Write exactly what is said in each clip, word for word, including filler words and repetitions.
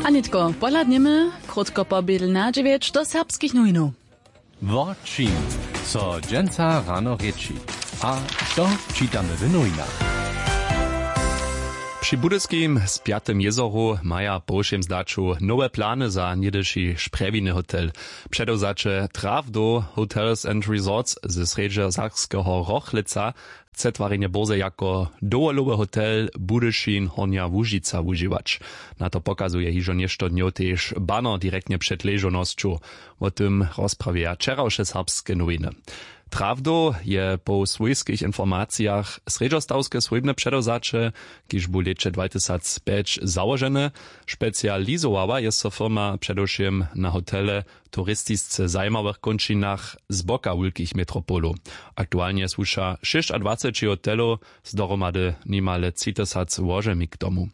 A nětko pohladnjemy krótko po bědl na dźewjeć do serbskich nowinow. Wo čim so dźensa rano rěči a što čitamy w nowinach? Při budyskim spjatym jězoru maja po wšěm zdaću nowe plany za něhdyši šprjewiny hotel. Předewzaće Trawdo Hotels and Resorts ze srjedźesakskeho Rochlěca chce twarjenje bórze jako dowolowy hotel Budyšin Hornja Łužica wužiwać. Na to pokazuje hižo něšto dnjow tež banner direktnje před ležownosću. Wo tym rozprawjeja wčerawše serbske nowiny. Trawdow je po swójskich informacijach srjedźostawske swójbne předewzaće, kiž bu w lěće dwatysacpjeć załožene. Specializowała je so firma předewšěm na hotele w turistisce zajimawych kónčinach z boka wulkich metropolow. Aktualnje słuša šěsćadwaceći hotelow z dohromady nimale tři tysac łožemi k tomu.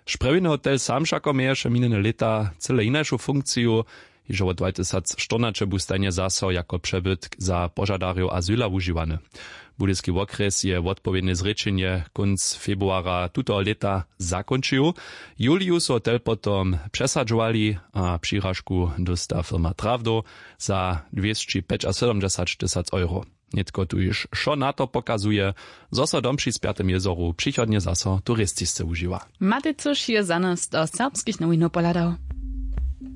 Šprjewiny hotel sam wšako měješe minjene lěta cyle hinašu funkciju. Hižo wot dwatysacštyrnaće bu stajnje zaso jako přebytk za požadarjow azyla wužiwany. Budyski wokrjes je wotpowědne zrěčenje kónc februara tutoho lěta zakónčił. W juliju su hotel potom přesadźowali a přiražku dósta firma Trawdow za dwěsći pjećasydomdźesat tysac euro. Nětko tuž wšo na to pokazuje, zo so dom při spjatym jězoru přichodnje zaso turistisce wužiwa. Matej cyš je za nas do serbskich nowinow pohladał.